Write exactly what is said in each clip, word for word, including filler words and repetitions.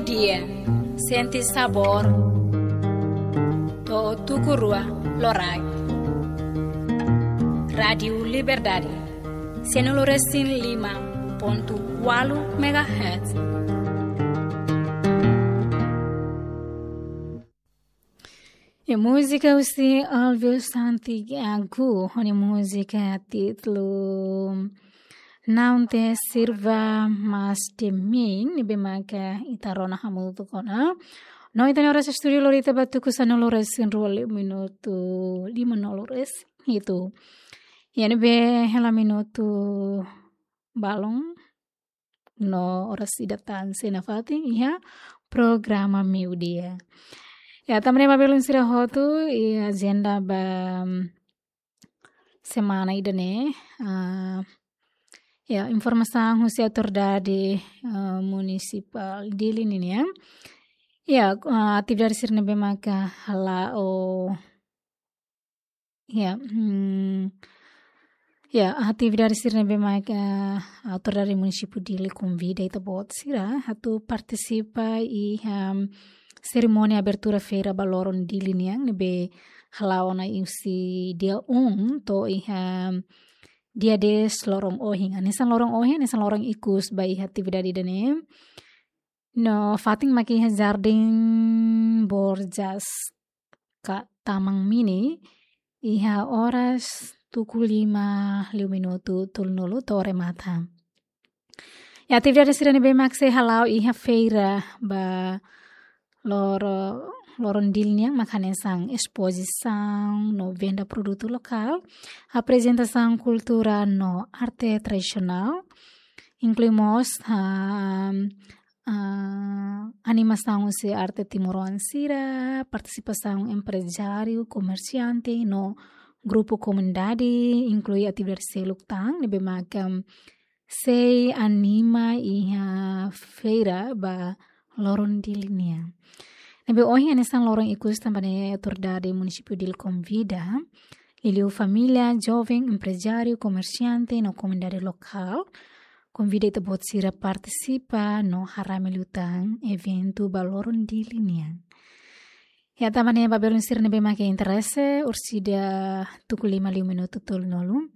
Dia, sente sabór to'o tuku rua loraik. Rádiu Liberdade, sanulu-resin-lima pontu ualu megahertz. E múzika husi Alvio Santiago, ho nia múzika títulu Não Te Sirva Mais de Mim, ne'ebé maka ita rona hamutuk ona. No ita-nia oras estúdiu lori ita ba tuku sanulu-resin-rua liu minutu, limanulu-resin-hitu. Iha ne'ebé hela minutu balun no oras ida tan sei nafatin iha programa Meiudia. Ya, tanba ne'e ba belun sira hotu, iha ajenda ba, mm, semana ida-ne'e, ah, ya, informasaun husi autoridade, ah, munisipál Dili ninian. Ya, ah, atividade sira ne'ebé maka hala'o, ya, hmm, ya, atividade sira ne'ebé maka autoridade munisípiu Dili konvida ita-boot sira atu partisipa iha, hmm, serimónia abertura feira ba loron Dili nian ne'ebé hala'o ona husi dia um to'o iha dia dez loron ohin. Hanesan loron ohin, hanesan loron ikus ba iha atividade ida-ne'e. No fatin maka iha Jardín Borjas ka Taman Mini, iha oras tuku lima liu minutu tolunulu to'o remata. Ya, atividade sira ne'ebé mak sei hala'o iha feira ba loro-, loron Dili nian mak hanesan espozisaun no venda produtu lokál, aprezentasaun kultura no arte tradisionál, inklui mós, ah, ah, animasaun husi arte timoroan sira, partisipasaun emprezáriu, komersiante no grupu komunidade, inklui atividade seluk tan ne'ebé maka sei anima iha feira ba loron Dili nian. Ne'ebé ohin hanesan loron ikus tanba ne'e autoridade munisípiu Dili konvida liuliu família, joven, emprezáriu, komersiante no komunidade lokál, konvida ita-boot sira partisipa no haree liután eventu ba loron Dili nian. Ya, tanba ne'e ba belun sira ne'ebé maka interese, orsida tuku lima liu minutu tolunulu.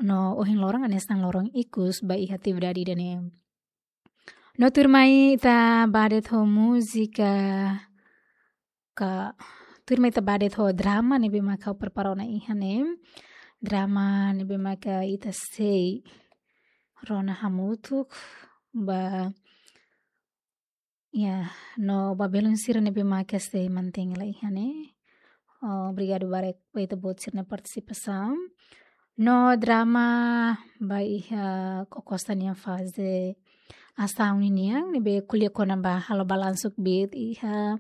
No ohin loron hanesan loron ikus ba iha atividade ida-ne'e. No tuirmai ita ba de'it ho múzika ka, tuirmai ita ba de'it ho drama ne'ebé maka ha'u prepara ona iha ne'e. Drama ne'ebé maka ita sei rona hamutuk ba, ya, no ba belun sira ne'ebé maka sei mantein hela iha ne'e. Oh, obrigadu barak ba ita-boot sira-nia partisipasaun. No drama ba iha KOCOSA nian faze asaun ninian, ne'ebé ko'alia kona-ba halo balansu kbiit iha,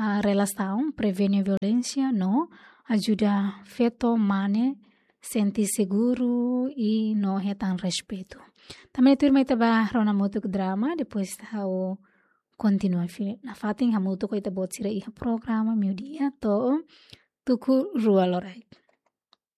ah, relasaun, prevene violénsia no ajuda feto mane sente seguru i no hetan respeitu. Tanba ne'e tuirmai ita ba rona hamutuk drama, depois ha'u kontinua fila nafatin hamutuk ho ita-boot sira iha programa Meiudia to'o tuku rua loraik.